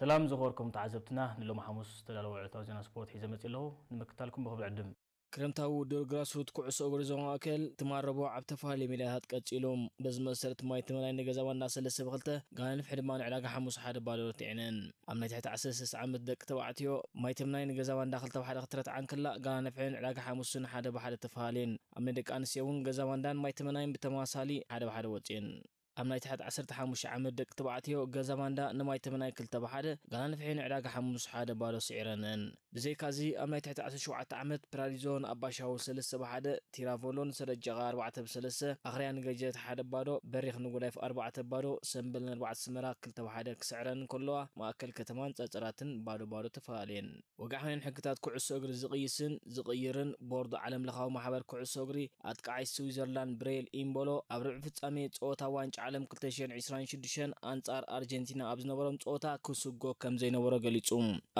ሰላም ዝኸበርኩም ተዓዘብትና፣ ንሎሚ ሓሙስ ዝተዳለወ ዕለታዊ ዜና ስፖርት ሒዘ መጺእ ኣለኹ። ንምክታልኩም ብኽብሪ ዕድም። ክረምታዊ ውድድር ግራስሩት ኩዕሶ እግሪ ዞባ ማእከል ትማል ረቡዕ ኣብ ተፈላለየ ሜዳታት ቀጺሉ። በዚ መሰረት ማይ ተመናይ ንገዛ ባንዳ ሰለስተ ብክልተ፣ ጋና ንፍሒ ድማ ንዕዳጋ ሓሙስ ሓደ ባዶ ረቲዐነን። ኣብ ናይ ትሕቲ ዓሰርተ ሰለስተ ዓመት ደቂ ተባዕትዮ ማይ ተመናይ ንገዛ ባንዳ ክልተ ብሓደ ክትረትዓ እንከላ፣ ጋና ንፍሒ ንዕዳጋ ሓሙስን ሓደ ብሓደ ተፈላለየን። ኣብ ናይ ደቂ ኣንስትዮ እውን ገዛ ባንዳን ማይ ተመናይን ብተመሳሳሊ ሓደ ብሓደ ወጺኤን። ኣብ ናይ ትሕቲ ዓሰርተ ሓሙሽተ ዓመት ደቂ ተባዕትዮ ገዛ ባንዳ ንማይ ተመናይ ክልተ ብሓደ፣ ጋና ንፍሒ ንዕዳጋ ሓሙስ ሓደ ባዶ ስዒረነን። ብዘይካዚ ኣብ ናይ ትሕቲ ዓሰርተ ሸውዓተ ዓመት ፕራዲዞ ንኣባሻው ሰለስተ ብሓደ፣ ቲራቮሎ ንሰረጀቓ ኣርባዕተ ብሰለስተ፣ ኣኽርያ ንገጀት ሓደ ባዶ፣ በሪኽ ንጉዳይፍ ኣርባዕተ ባዶ፣ ሰምበል ንኣርባዕተ ኣስመራ ክልተ ብሓደ ክስዕረን እንከለዋ፣ ማእከል ከተማን ጸጸራትን ባዶ ባዶ ተፈላለየን። ወግዓውያን ሕግታት ኩዕሶ እግሪ ዝቕይስን ዝቕይርን ቦርድ ዓለምለኻዊ ማሕበር ኩዕሶ እግሪ፣ ኣጥቃዓይ ስዊዘርላንድ ብሬል ኢምቦሎ ኣብ ርብዒ ፍጻሜ ጸወታ ዋንጫ ዓለም ክልተ ሽሕን ዕስራን ሽዱሽተን ኣንጻር ኣርጀንቲና ኣብ ዝነበሮም ጸወታ ክስጎ ከም ዘይነበሮ ገሊጹ።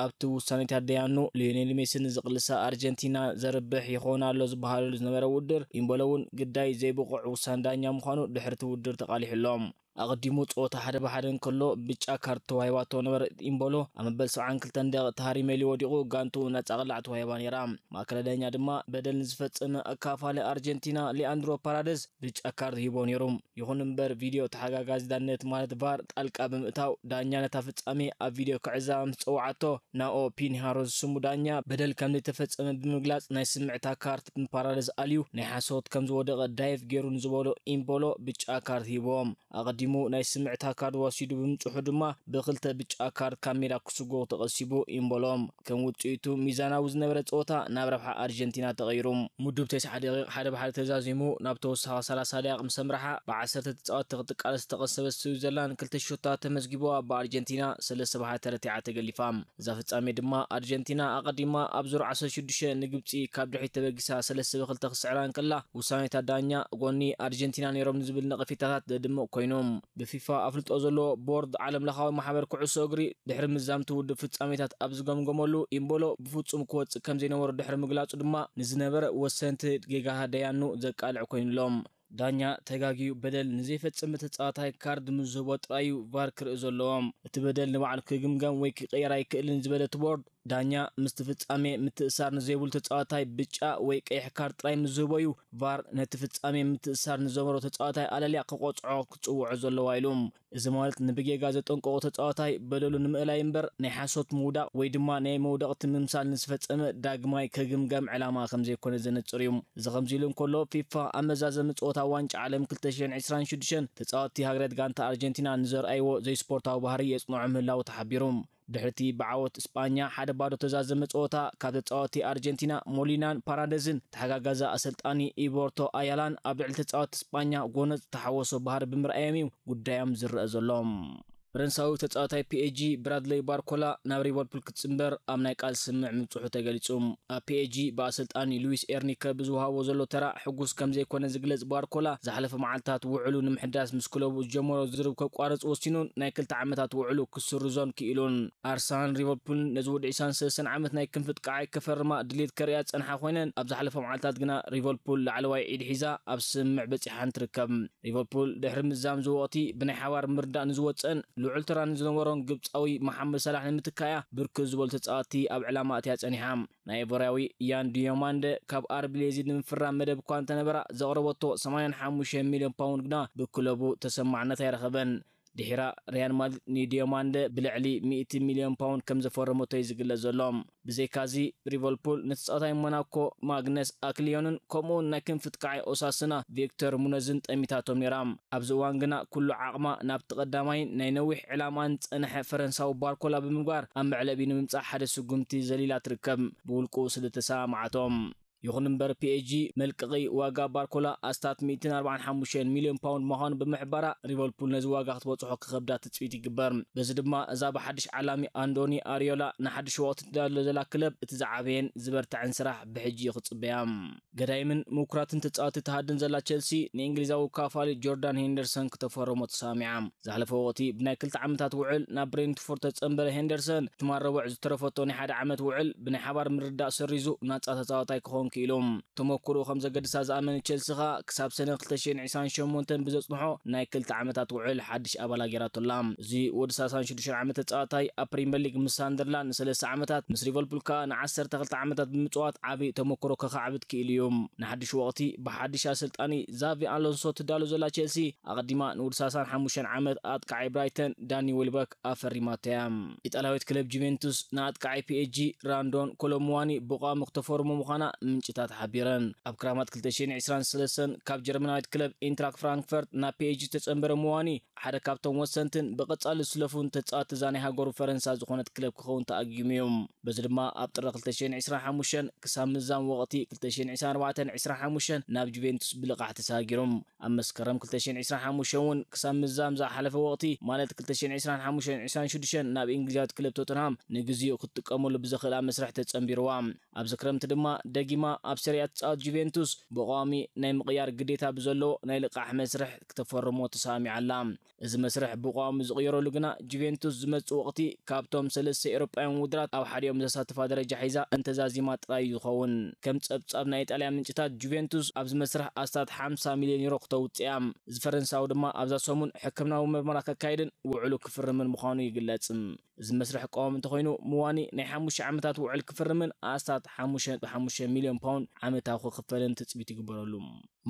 ኣብቲ ውሳኔታት ደያኑ ሊዮኔል ሜሲ ንዝቕልሳ ኣርጀንቲና ዘርብሕ ይኸውን ኣሎ ዝበሃለሉ ዝነበረ ውድድር፣ ኢምቦሎ እውን ግዳይ ዘይብቑዕ ውሳነ ዳኛ ምዃኑ ድሕርቲ ውድድር ተቓሊሑ ኣሎ። ኣቐዲሙ ጸወታ ሓደ ብሓደ እንከሎ ብጫ ካርድ ተዋሂባቶ ነበረት ኢምቦሎ፣ ኣብ መበል ሰብዓን ክልተን ደቂቕ ተሃሪሜሊ ወዲቑ ጋንትኡ ነጻ ቅላዕ ተዋሂባ ነይራ። ማእከላይ ዳኛ ድማ በደል ንዝፈጸመ ኣካፋሊ ኣርጀንቲና ሊኣንድሮ ፓራደዝ ብጫ ካርድ ሂቦ ነይሩ። ይኹን እምበር ቪድዮ ተሓጋጋዚ ዳነት ማለት ቫር ጣልቃ ብምእታው ዳኛ ነታ ፍጻሜ ኣብ ቪድዮ ክዕዘባ ምስ ጸውዓቶ ናኦ ፒንሃሮ ዝስሙ ዳኛ በደል ከም ዘይተፈጸመ ብምግላጽ ናይ ስምዕታ ካርድ ንፓራደዝ ኣልዩ ናይ ሓሶት ከም ዝወደቐ ዳይቭ ገይሩ ንዝበሎ ኢምቦሎ ብጫ ካርድ ሂቦም። ኣቐዲሙ ናይ ስምዕታ ካርድ ወሲዱ ብምጽሑ ድማ ብክልተ ብጫ ካርድ ካብ ሜዳ ክስጎ ተቐሲቡ ኢምቦሎም። ከም ውጽኢቱ ሚዛናዊ ዝነበረ ጸወታ ናብ ረብሓ ኣርጀንቲና ተቐይሩ። ምዱብ ተስዓ ደቂቕ ሓደ ብሓደ ተዛዚሙ ናብ ተወሳኺ ሰላሳ ደቂቕ ምስ ኣምርሓ ብዓሰርተ ተጻወትቲ ክትቃለስ ዝተቐሰበት ስዊዘርላንድ ክልተ ሸቶታት ተመዝጊቡ ኣብ ኣርጀንቲና ሰለስተ ብሓደ ተረቲዓ ተገሊፋ። እዛ ፍጻሜ ድማ ኣርጀንቲና ኣቐዲማ ኣብ ዙር ዓሰርተ ሽዱሽተ ንግብጺ ካብ ድሕሪት ተበጊሳ ሰለስተ ብክልተ ክስዕራ እንከላ ውሳኔታት ዳኛ ጎኒ ኣርጀንቲና ነይሮም ንዝብል ነቐፌታታት ዘድምቕ ኮይኑ። ብፊፋ ኣፍልጦ ዘለዎ ቦርድ ዓለምለኻዊ ማሕበር ኩዕሶ እግሪ ድሕሪ ምዛምቲ ውድብ ፍጻሜታት ኣብ ዝገምገመሉ ኢምቦሎ ብፍጹም ክወጽእ ከም ዘይነበሮ ድሕሪ ምግላጹ ድማ ንዝነበረ ወሰንቲ ጌጋታት ደያኑ ዘቃልዕ ኮይኑሎም። ዳኛ ተጋግዩ በደል ንዘይፈጸመ ተጻዋታይ ካርድ ምስ ዝህቦ ጥራይ እዩ ቫር ክርኢ ዘለዎ። እቲ በደል ንባዕሉ ክግምገም ወይ ክቕየር ኣይክእልን ዝበለ እቲ ቦርድ፣ ዳኛ ምስቲ ፍጻሜ ምትእሳር ንዘይብሉ ተጻዋታይ ብጫ ወይ ቀይሕ ካርድ ጥራይ ምስ ዝህቦ እዩ ቫር ነቲ ፍጻሜ ምትእሳር ንዘመሮ ተጻዋታይ ኣለልያ ክቆጽዖ ክጽውዖ ዘለዋ ኢሉ። እዚ ማለት ንብጌጋ ዘጠንቀቑ ተጻዋታይ በደሉ ንምእላይ እምበር ናይ ሓሶት ምውዳቕ ወይ ድማ ናይ መውደቕቲ ምምሳል ንዝፈጸመ ዳግማይ ከግምገም ዕላማ ከም ዘይኮነ ዘነጽር እዩ። እዚ ከምዚ ኢሉ እንከሎ ፊፋ ኣብ መዛዘሚ ጸወታ ዋንጫ ዓለም ክልተ ሽሕን ዕስራን ሽዱሽተን ተጻወትቲ ሃገራት ጋንታ ኣርጀንቲና ንዘርኣይዎ ዘይስፖርታዊ ባህሪ የጽንዖ ምህላዉ ተሓቢሩ። ድሕሪቲ ብዓወት ስጳኛ ሓደ ባዶ ተዛዘመ ጸወታ ካብ ተጻወቲ ኣርጀንቲና ሞሊናን ፓራደዝን ተሓጋጋዚ ኣሰልጣኒ ኢቦርቶ ኣያላን ኣብ ልዕሊ ተጻወቲ ስጳኛ ጎነጽ ተሓወሶ ባህሪ ብምርኣዮም እዩ ጉዳዮም ዝረአ ዘሎ። ፈረንሳዊ ተጻዋታይ ፒኤጂ ብራድለይ ባርኮላ ናብ ሊቨርፑል ክትጽንበር ኣብ ናይ ቃል ስምምዕ ምብጽሑ ተገሊጹ። ኣብ ፒኤጂ ብኣሰልጣኒ ሉዊስ ኤርኒከ ብዝወሃቦ ዘሎ ተራ ሕጉስ ከም ዘይኮነ ዝግለጽ ባርኮላ ዝሓለፈ መዓልታት ውዕሉ ንምሕዳስ ምስ ክለቡ ዝጀመሮ ዝርብ ከቋርጽ ወሲኑን ናይ ክልተ ዓመታት ውዕሉ ክስርዞን ክኢሉን። ኣርሰናል ሊቨርፑል ነዚ ወዲ ዕስራን ሰለስተን ዓመት ናይ ክንፊ ጥቃዓይ ከፈርማ ድሌት ከርእያ ዝጸንሓ ኮይነን ኣብ ዝሓለፈ መዓልታት ግና ሊቨርፑል ላዕለዋይ ኢድ ሒዛ ኣብ ስምምዕ በጺሓን ትርከብ። ሊቨርፑል ድሕሪ ምዛም ዝወቕቲ ብናይ ሓባር ምርዳእ ንዝወጸን ልዑል ተራ ንዝነበሮን ግብጻዊ መሓመድ ሳላሕ ንምትካያ ብርክት ዝበሉ ተጻወትቲ ኣብ ዕላማ ኣትያ ጸኒሓ። ናይ ኢቮርያዊ ያን ዲዮማንደ ካብ ኣርቢ ሌዚድ ንምፍራም መደብ እኳ እንተነበራ ዘቕረበቶ ሰማንያን ሓሙሽተ ሚልዮን ፓውንድ ግና ብክለቡ ተሰማዕነት ኣይረኸበን። ድሒራ ሪያል ማድሪድ ንዲዮማንደ ብልዕሊ ሚእቲ ሚልዮን ፓውንድ ከም ዘፈረመቶ እዩ ዝግለጽ ዘሎ። ብዘይካዚ ሊቨርፑል ንተጻዋታይ ሞናኮ ማግነስ ኣክሊዮንን ከምኡውን ናይ ክንፊ ጥቃዓይ ኦሳስና ቪክተር ሙነዝን ጠሚታቶም ነይራ። ኣብዚ እዋን ግና ኩሉ ዓቕማ ናብቲ ቀዳማይን ናይ ነዊሕ ዕላማን ዝጸንሐ ፈረንሳዊ ባርኮላ ብምግባር ኣብ መዕለቢ ንምምጻእ ሓደ ስጉምቲ ዘሊላ ትርከብ። ብውልቁ ስለ ተሰማማዓቶም። ይኹን እምበር ፒኤጂ መልቀቒ ዋጋ ባርኮላ ኣስታት ሚእትን ኣርባዓን ሓሙሽተን ሚልዮን ፓውንድ ምዃኑ ብምሕባራ ሊቨርፑል ነዚ ዋጋ ክትበጽሖ ክኸብዳ ትጽቢት ይግበር። በዚ ድማ እዛ ብሓድሽ ዓላሚ ኣንዶኒ ኣሪዮላ ንሓድሽ ወቕቲ ትዳሎ ዘላ ክለብ እቲ ዝዓበየን ዝበርትዐን ስራሕ ብሕጂ እዩ ክጽበያ። ገዳይምን ምኩራትን ተጻወቲ ትሃድን ዘላ ቸልሲ ንእንግሊዛዊ ካፋሊ ጆርዳን ሄንደርሰን ክተፈረሞ ተሰማሚዓ። ዝሓለፈ ወቕቲ ብናይ ክልተ ዓመታት ውዕል ናብ ብሬንትፎርድ ተጸንበረ ሄንደርሰን ትማል ረቡዕ ዝተረፈቶ ናይ ሓደ ዓመት ውዕል ብናይ ሓባር ምርዳእ ሰሪዙ ናጻ ተጻዋታይ ክኸውን ክኢሎም። ተመክሮ ከም ዘገድሳ ዝኣመነ ቸልሲ ኸኣ ክሳብ ሰነ ክልተ ሽሕን ዕስራን ሸሞንተን ብዘጽንሖ ናይ ክልተ ዓመታት ውዕል ሓድሽ ኣባላ ገይራቶ ኣላ። እዚ ወዲ ሰላሳን ሽዱሽተን ዓመት ተጻዋታይ ኣብ ፕሪምየር ሊግ ምስ ሳንደርላንድ ንሰለስተ ዓመታት፣ ምስ ሊቨርፑል ከኣ ንዓሰርተ ክልተ ዓመታት ብምጽዋት ዓቢ ተመክሮ ከኻዕብት ክኢሉ እዩ። ንሓድሽ ወቕቲ ብሓድሽ ኣሰልጣኒ ዛቪ ኣሎንሶ ትዳሎ ዘላ ቸልሲ ኣቐዲማ ንውዲ ሰላሳን ሓሙሽተን ዓመት ኣጥቃዓይ ብራይተን ዳኒ ዌልበክ ኣፈሪማቶ እያ። ኢጣልያዊት ክለብ ጁቬንቱስ ንኣጥቃዓይ ፒኤስጂ ራንዶን ኮሎሙዋኒ ብቋሚ ክተፈርሞ ምዃና ምንጭታት ሓቢረን። ኣብ ክራማት ክልተ ሽሕን ዕስራን ሰለስተን ካብ ጀርመናዊት ክለብ ኢንትራክ ፍራንክፈርት ናብ ፒኤስጂ ተጸንበረ ሙዋኒ ሓደ ካብቶም ወሰንትን ብቐጻሊ ዝስለፉን ተጻወትቲ እዛ ናይ ሃገሩ ፈረንሳ ዝኾነት ክለብ ክኸውን ተኣጊሙ እዩ። በዚ ድማ ኣብ ጥሪ ክልተ ሽሕን ዕስራን ሓሙሽተን ክሳብ ምዛም ወቕቲ ክልተ ሽሕን ዕስራን ኣርባዕተን ዕስራን ሓሙሽተን ናብ ጁቬንቱስ ብልቓሕ ተሰጋጊሩ። ኣብ መስከረም ክልተ ሽሕን ዕስራን ሓሙሽተን እውን ክሳብ ምዛም ዝሓለፈ ወቕቲ ማለት ክልተ ሽሕን ዕስራን ሓሙሽተን ዕስራን ሽዱሽተን ናብ እንግሊዛዊት ክለብ ቶተንሃም ንግዜኡ ክትጥቀመሉ ብዘኽእላ መስርሕ ተጸንቢርዋ። ኣብዚ ክረምቲ ድማ ደጊማ ኣብ ሰሪያ ትጻወት ጁቬንቱስ ብቋሚ ናይ ምቕያር ግዴታ ብዘለዎ ናይ ልቓሕ መስርሕ ክተፈርሞ ተሰማሚዓ ኣላ። እዚ መስርሕ ብቋሚ ዝቕየረሉ ግና ጁቬንቱስ ዝመጽእ ወቕቲ ካብቶም ሰለስተ ኤውሮጳውያን ውድድራት ኣብ ሓዲኦም ዘሳትፋ ደረጃ ሒዛ እንተዛዚማ ጥራይ እዩ ዝኸውን። ከም ጸብጻብ ናይ ኢጣልያ ምንጭታት ጁቬንቱስ ኣብዚ መስርሕ ኣስታት ሓምሳ ሚልዮን ዩሮ ክተውጽእ እያ። እዚ ፈረንሳዊ ድማ ኣብዛ ሰሙን ሕክምናዊ ምርመራ ከካይድን ውዕሉ ክፍርምን ምዃኑ ይግለጽ። እዚ መስርሕ ቀዋሚ እንተኾይኑ ምዋኒ ናይ ሓሙሽተ ዓመታት ውዕል ክፍርምን ኣስታት ሓሙሽተ ነጥቢ ሓሙሽተ ሚልዮን ፓውንድ ዓመታዊ ክኽፈልን ትጽቢት ይግበረሉ።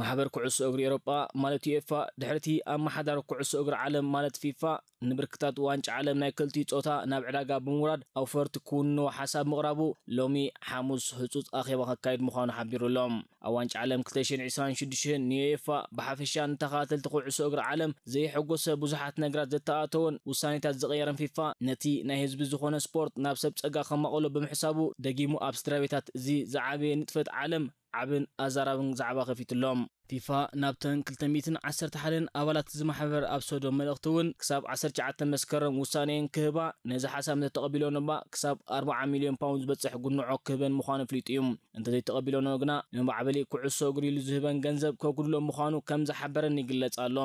ማሕበር ኩዕሶ እግሪ ኤውሮጳ ማለት ዩኤፋ ድሕርቲ ኣመሓዳሪ ኩዕሶ እግሪ ዓለም ማለት ፊፋ ንብርክታት ዋንጫ ዓለም ናይ ክልቲኡ ጾታ ናብ ዕዳጋ ብምውራድ ኣውፈርቲ ክውንዎ ሓሳብ ምቕራቡ ሎሚ ሓሙስ ህጹጽ ኣኼባ ከካይድ ምዃኑ ሓቢሩ ኣሎ። ኣብ ዋንጫ ዓለም ክልተ ሽሕን ዕስራን ሽዱሽተን ንዩኤፋ ብሓፈሻ ንተኸታተልቲ ኩዕሶ እግሪ ዓለም ዘየሐጎሰ ብዙሓት ነገራት ዘተኣተወን ውሳኔታት ዝቐየረን ፊፋ ነቲ ናይ ህዝቢ ዝኾነ ስፖርት ናብ ሰብ ጸጋ ከማቐሎ ብምሕሳቡ ደጊሙ ኣብ ስድራ ቤታት እዚ ዝዓበየ ንጥፈት ዓለም ዓብን ኣዛራብን ዛዕባ ከፊትሎም። ፊፋ ናብተን ክልተ ሚእትን ዓሰርተ ሓደን ኣባላት እዚ ማሕበር ኣብ ሰዶ መልእኽቲ እውን ክሳብ ዓሰርተ ትሽዓተ መስከረም ውሳኔን ክህባ ነዚ ሓሳብ እንተተቐቢሎን እባ ክሳብ ኣርባዓ ሚልዮን ፓውንድ ዝበጽሕ ጉንዖ ክህበን ምዃኑ ኣፍሊጡ እዩ። እንተዘይተቐቢሎኖ ግና ንማዕበሊ ኩዕሶ እግሪ ኢሉ ዝህበን ገንዘብ ከጉድሎ ምዃኑ ከም ዝሓበረን ይግለጽ ኣሎ።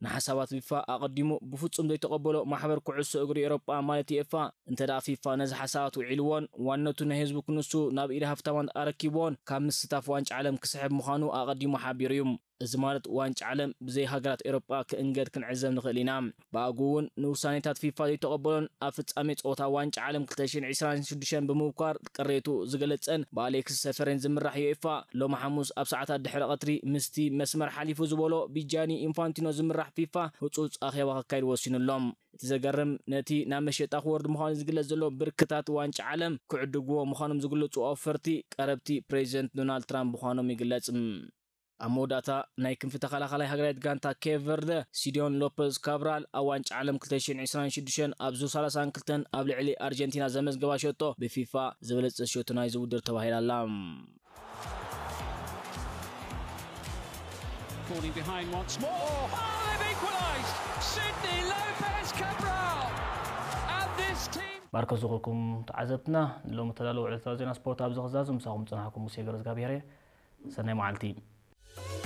ንሓሳባት ፊፋ ኣቐዲሙ ብፍጹም ዘይተቐበሎ ማሕበር ኩዕሶ እግሪ ኤውሮጳ ማለት ዩኤፋ እንተ ደኣ ፊፋ ነዚ ሓሳባት ውዒልዎን ዋነቱ ናይ ህዝቢ ክንሱ ናብ ኢድ ሃፍታማት ኣረኪብዎን ካብ ምስታፍ ዋንጫ ዓለም ክስሕብ ምዃኑ ኣቐዲሙ ሓቢሩ እዩ። እዚ ማለት ዋንጫ ዓለም ብዘይ ሃገራት ኤውሮጳ ክእንገድ ክንዕዘብ ንኽእል ኢና። ብኣግኡ እውን ንውሳኔታት ፊፋ ዘይተቐበሎን ኣብ ፍጻሜ ጸወታ ዋንጫ ዓለም ክልተ ሽሕን ዕስራን ሽዱሽተን ብምብኳር ቅሬቱ ዝገለጸን ብኣሌክስ ሰፈሬን ዝምራሕ ዩኤፋ ሎሚ ሓሙስ ኣብ ሰዓታት ድሕሪ ቀትሪ ምስቲ መስመር ሓሊፉ ዝበሎ ብጃኒ ኢንፋንቲኖ ዝምራሕ ፊፋ ህጹጽ ኣኼባ ከካይድ ወሲኑ ኣሎ። እቲ ዘገርም ነቲ ናብ መሸጣ ክወርድ ምዃኑ ዝግለጽ ዘሎ ብርክታት ዋንጫ ዓለም ክዕድግዎ ምዃኖም ዝግለጹ ኣውፈርቲ ቀረብቲ ፕሬዚደንት ዶናልድ ትራምፕ ምዃኖም ይግለጽ። ኣብ መወዳእታ ናይ ክንፊ ተኸላኻላይ ሃገራዊት ጋንታ ኬፕ ቨርደ ሲዲዮን ሎፐዝ ካብራል ኣብ ዋንጫ ዓለም ክልተ ሽሕን ዕስራን ሽዱሽተን ኣብ ዙር ሰላሳን ክልተን ኣብ ልዕሊ ኣርጀንቲና ዘመዝገባ ሸቶ ብፊፋ ዝበለጸ ሸቶ ናይዚ ውድድር ተባሂላ ኣላ። Falling behind once more. Oh, they've equalised. Sydney Lopez Cabral. And this team. ባርከ ዝኾንኩም ተዓዘብትና ንሎሚ ተዳለወ ዕለታዊ ዜና ስፖርት ኣብዚ ክዛዙ ምሳኹም ዝጸናሕኩም ሙሴ ገረዝጋብሔር እየ። ሰናይ መዓልቲ።